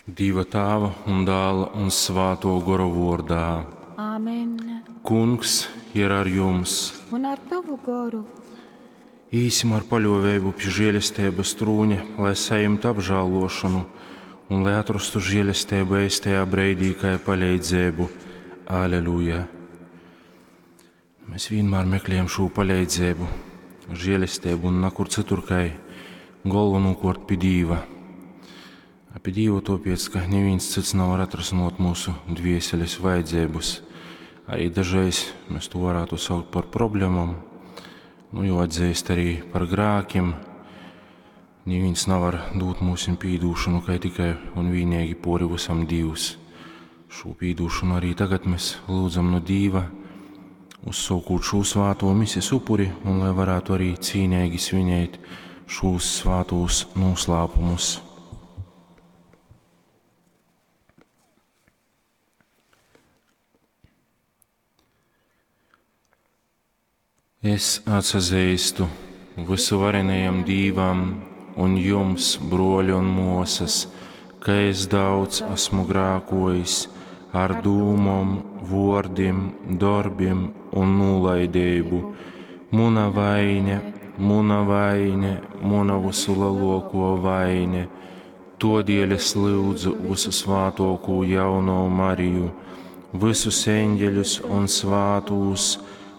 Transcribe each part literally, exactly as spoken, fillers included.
Dieva Tāva un Dāla un Svāto Gora vordā. Āmen. Kungs ir ar jums. Un ar tavu goru. Īsim ar paļāvību pie žēlestības trūņa, lai saņemtu apžēlošanu un lai atrastu žēlestību eistajā breidī, kā palīdzību. Aleluja! Mēs vienmēr meklējam šo palīdzību, žēlestību un nekur citur, kā galvenokārt pie Dieva. Pie Dieva tāpēc, ka neviens cits nevar atrasinot mūsu dvēseles vajadzības. Arī dažreiz mēs to varētu saukt par problēmām, nu, jo atzīst arī par grākiem. Neviens nevar dot mums pīdūšanu, kā tikai un vienīgi pori visam Dievs. Šo pīdūšanu arī tagad mēs lūdzam no Dieva, uzsākot šo svāto misijas upuri, un lai varētu arī cīnīgi svinēt šos svātos noslēpumus. Es atsazīstu visuvarenajam Dīvam un jums, broļi un mosas, ka es daudz esmu grākojis ar dūmom, vordim darbiem un nolaidību. Muna vaine, muna vaine, muna visu lielāko vaine. Todēļ es lūdzu visu svātoko jauno Mariju, visus eņģeļus un svātūs,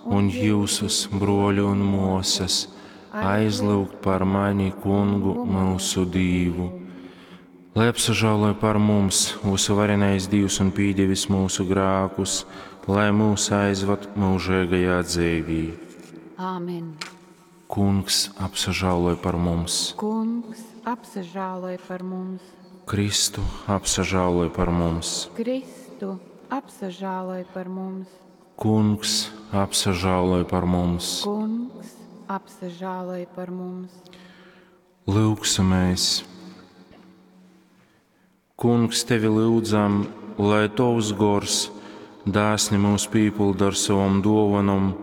un jūsus, broļi un mosas, aizlūgt par mani kungu mūsu Dīvu. Lai apsažāloja par mums mūsu varenais Dievs un pīdevis mūsu grākus, lai mūs aizvad mūžīgajā dzīvī. Āmen. Kungs apsažāloja par mums. Kungs apsažāloja par mums. Kristu apsažāloja par mums. Kristu apsažāloja par mums. Kungs apsažāloj par mums. Kungs apsažāloj par mums. Lūksimies! Kungs, tevi lūdzam, lai tavs gors dāsni mūs pīpilda ar savam dovanam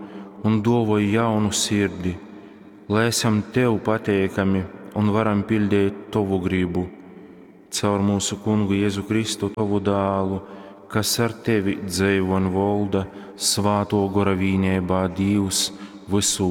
un dovoj jaunu sirdi, lai esam tev pateikami un varam pildīt tavu gribu. Caur mūsu kungu Jēzu Kristu, tavu dālu, kas ar tevi dzīvo un valda svāto gora vīnībā Dievs visu